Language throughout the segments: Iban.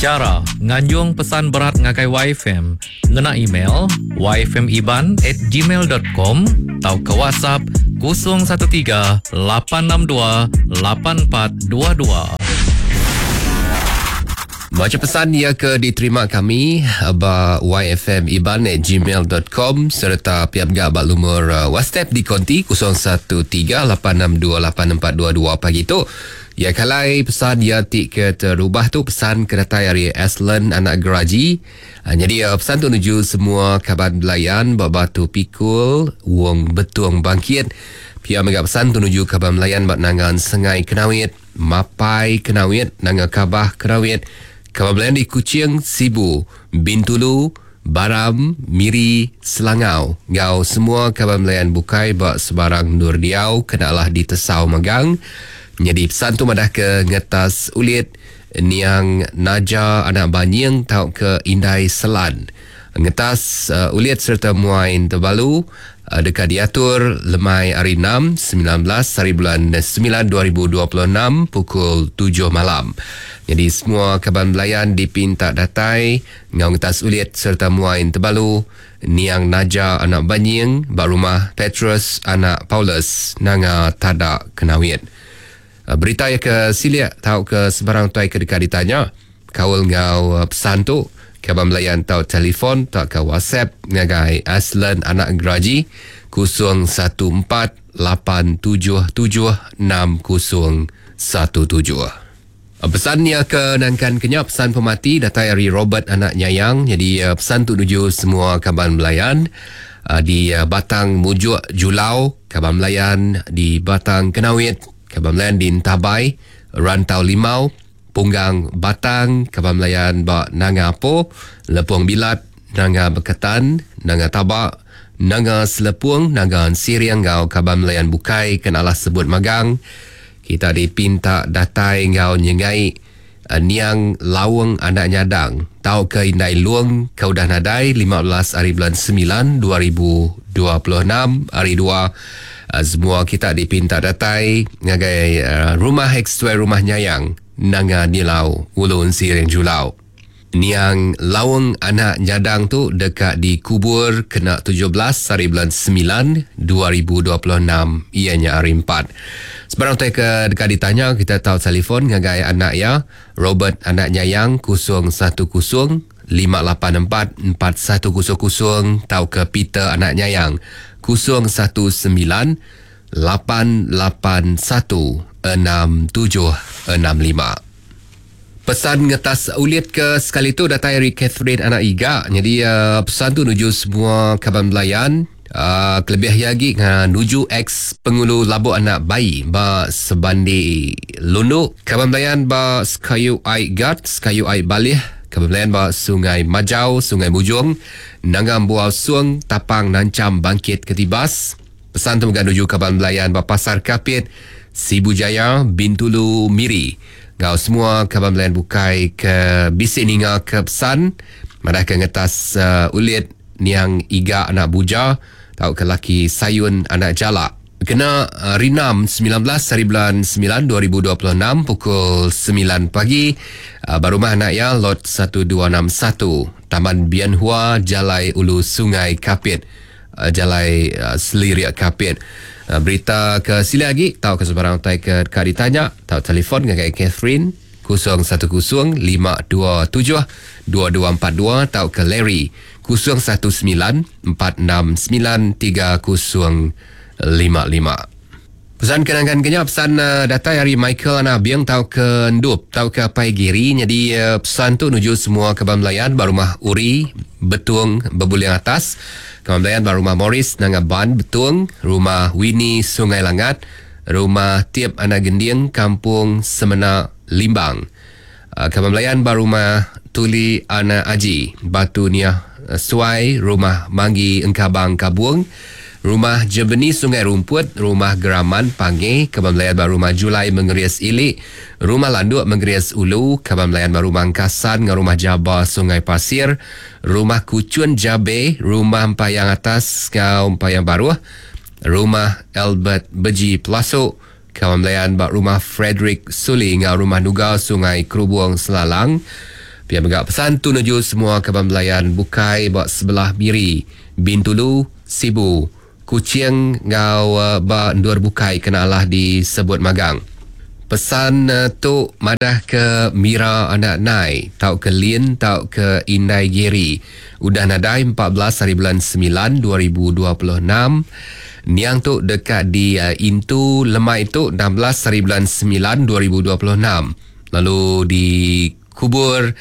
Chara nganjung pesan berat ngagai YFM ngena email yfmiban@gmail.com tauka WhatsApp 013 862 8422. Baca pesan iya ke diterima kami ba yfmiban@gmail.com sereta pia mega ba lumur WhatsApp di konti 013 862 8422 pagi tu. Ya kalai pesan iya ti ke terubah tu pesan ke datai ari Aslan anak Geraji. Nyadi pesan tu nuju semua kaban belayan ba Batu Pikul, Wong Betung Bangkit. Pia mega pesan tu nuju kaban belayan ba Nangan Sengai Kenawit, Mapai Kenawit, Nanga Kabah Kenawit, kaban belayan di Kuching, Sibu, Bintulu, Baram, Miri, Selangau enggau semua kaban belayan bukai ba sebarang endur diau kena alah ditesau magang. Nyadi pesan tu madah ke ngetas ulit niang Naja anak Banying tauka Indai Selan. Ngetas ulit sereta muai Tebalu deka diatur lemai hari Enam, 19 haribulan 9 2026 pukul 7 malam. Nyadi semua kaban belayan dipinta datai enggau ngetas ulit sereta muai Tebalu niang Naja anak Banying ba rumah Petrus anak Paulus Nanga Tada Kenawit. Berita iya ke silik tauka sebarang tuai ke deka ditanya kaul enggau pesan tu, kaban belayan tau telefon tauka WhatsApp ngagai Aslen anak Geraji 014 877 6017. Pesan iya ke nangkan ke nya pesan pemati datai ari Robert anak Nyayang. Nyadi pesan tu nuju semua kaban belayan di Batang Mujuk Julau, kaban belayan di Batang Kenawit, kaban belayan di Entabai, Rantau Limau, Punggang Batang, kaban belayan ba Nanga Apo, Lepung Bilat, Nanga Beketan, Nanga Taba, Nanga Selepung, Nanga Ensiring enggau kaban belayan bukai ke nalah sebut magang. Kita dipinta datai enggau nyengai niang Laung anak Nyadang tauka Indai Lung ke udah nadai 15 hari bulan 9 2026 hari 2. Semua kita dipinta datai ngagai rumah ex-tuai rumah Nyayang Nanga Nilau Ulu Ensiring Julau. Niang Laung anak Nyadang tu deka dikubur kena 17 hari bulan 9 2026 iya nya hari 4. Sebarang utai ke deka ditanya kita tau telefon ngagai anak iya Robert anak Nyayang 010 584 4100 tauka Peter anak Nyayang 019 881 6765. Pesan ngetas ulit ke sekali tu datai ari Catherine anak Iga. Jadi uh, pesan tu nuju semua kaban belayan. Uh, kelebih lagi uh, nuju ex pengulu Labuk anak bayi ba Sebandi Lundu. Kaban belayan ba Sekayu Ai Gat, Sekayu Ai Balih. Kaban belayan ba Sungai Majau, Sungai Mujung, Nanga Buau Sung, Tapang Nancam Bangkit Ketibas. Pesan tu mega nuju kaban belayan ba Pasar Kapit, Sibu Jaya, Bintulu, Miri. Enggau semua kaban belayan bukai ke bisi ninga ke pesan madah ke ngetas uh, ulit niang Iga anak Buja tauka laki Sayun anak Jalak. Kena uh, Rinam 19 hari bulan 9 2026 pukul 9 pagi uh, ba rumah anak iya lot 1261 Taman Bian Hua Jalai Ulu Sungai Kapit uh, Jalai uh, Selirik Kapit. Uh, berita ke silik agi tauka sebarang utai ke deka ditanya tau telefon ngagai Catherine 010 527 2242 tauka Larry 019 469 3055. Pesan kenangan kenya pesan uh, datai ari Michael anak Abiang tauka Endup tauka Apai Giri. Nyadi uh, pesan tu nuju semua kaban belayan ba rumah Uri Betung Bebuling Atas, kaban belayan ba rumah Morris Nanga Ban Betung, rumah Winnie Sungai Langat, rumah Tiep anak Gending Kampung Semena Limbang. Uh, kaban belayan ba rumah Tuli anak Aji Batu Niah Suai, rumah Manggi Engkabang Kabung, rumah Jebeni Sungai Rumput, rumah Geraman Pange, kaban belayan ba rumah Julai Mengeris Ili, rumah Landuk Mengeris Ulu, kaban belayan ba rumah Engkasan enggau rumah Jaba Sungai Pasir, rumah Kuchun Jabe, rumah Empayang Atas enggau Empayang Baruh, rumah Albert Beji Pelasuk, kaban belayan ba rumah Frederick Suli enggau rumah Nuga Sungai Kerubung Selalang. Pia mega pesan tu nuju semua kaban belayan bukai ba sebelah Miri, Bintulu, Sibu, Kuching enggau ba endur bukai kena alah disebut magang. Pesan tu madah ke Mira anak Nai tauka Lin tauka Indai Gary udah nadai 14 hari bulan semilan 2026. Niang tu deka di intu lemai tu 16 hari bulan semilan 2026 lalu di kubur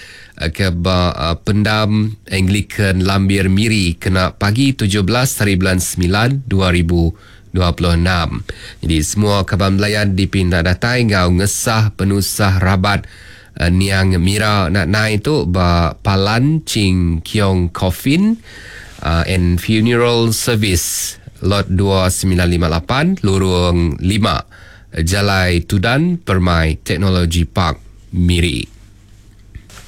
ke ba Pendam Anglican Lambir Miri kena pagi 17 hari bulan semilan 2026. Jadi semua kaban belayan dipinta datai enggau ngesah penusah rabat niang Mira anak Nai tu ba Palan Ching Kiong Coffin and Funeral Service Lot 2958 Lurung 5 Jalai Tudan Permai Teknologi Park Miri.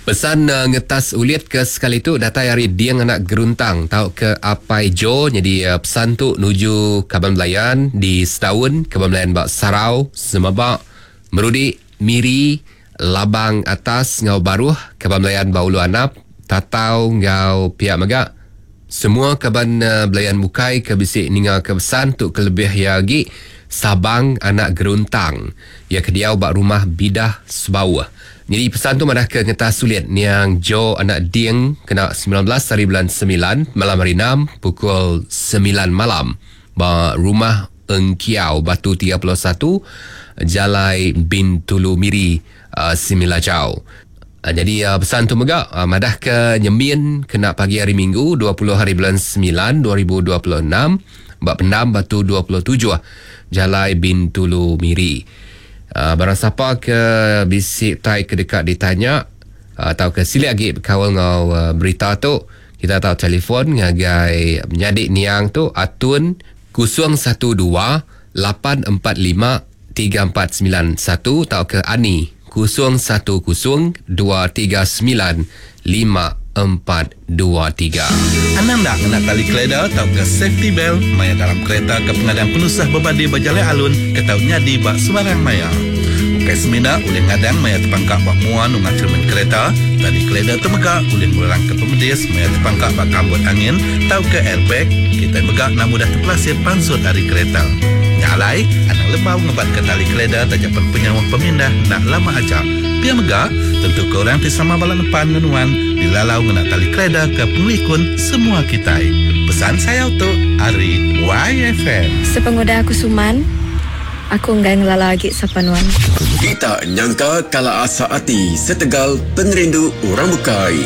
Pesan ngetas ulit ke sekali tu datai ari Ding anak Geruntang tauka Apai Jo nyadi pesan tu nuju kaban belayan di Setaun, kaban belayan ba Sarau, Semeba, Merudi, Miri, Labang Atas enggau Baruh, kaban belayan ba Ulu Anap, Tatau enggau pia mega semua kaban belayan bukai ke bisi ninga ke pesan tu kelebih iya agi Sabang anak Geruntang iya ke diau ba rumah Bidah Sebauh. Nyadi pesan tu madah ke ngetas sulit niang Jo anak Ding kena 19 hari bulan semilan malam hari enam pukul semilan malam ba Rumah Engkiau Batu 31 Jalai Bintulu Miri Similajau. Nyadi pesan tu mega madah ke nyemin kena pagi hari Minggu 20 hari bulan semilan 2026 ba Pendam Batu 27 Jalai Bintulu Miri. Barang sapa ke bisi utai ke deka ditanya tauka silik agi bekaul enggau berita tu, kita tau telefon ngagai menyadi niang tu Atun 012 845 3491 tauka Ani 010 239 5423. Anang enda ngena tali keleda tauka safety belt maya dalam kereta ke pengadang penusah bebadi ba jalai alun ke tau nyadi ba sebarang maya. Ukai semina ulih ngadang maya tepangka ba mua nunga cermin kereta, tali keleda tu mega ulih ngurangka pemedis maya tepangka ba kambut angin tauka airbag, kitai mega enda mudah tepelasit pansut ari kereta. Nya alai, anang lembau ngebatka tali keleda taja pen penyauh pemindah enda lama aja. Pia mega, tentuka orang ti sama bala nepan enggau nuan dilalau ngena tali keleda ke pengelikun semua kitai. Pesan sayau tu ari YFM. Sepengudah aku suman, aku enggai ngelala agi sapa nuan. Kita nyangka kala asa ati setegal pengerindu orang bukai.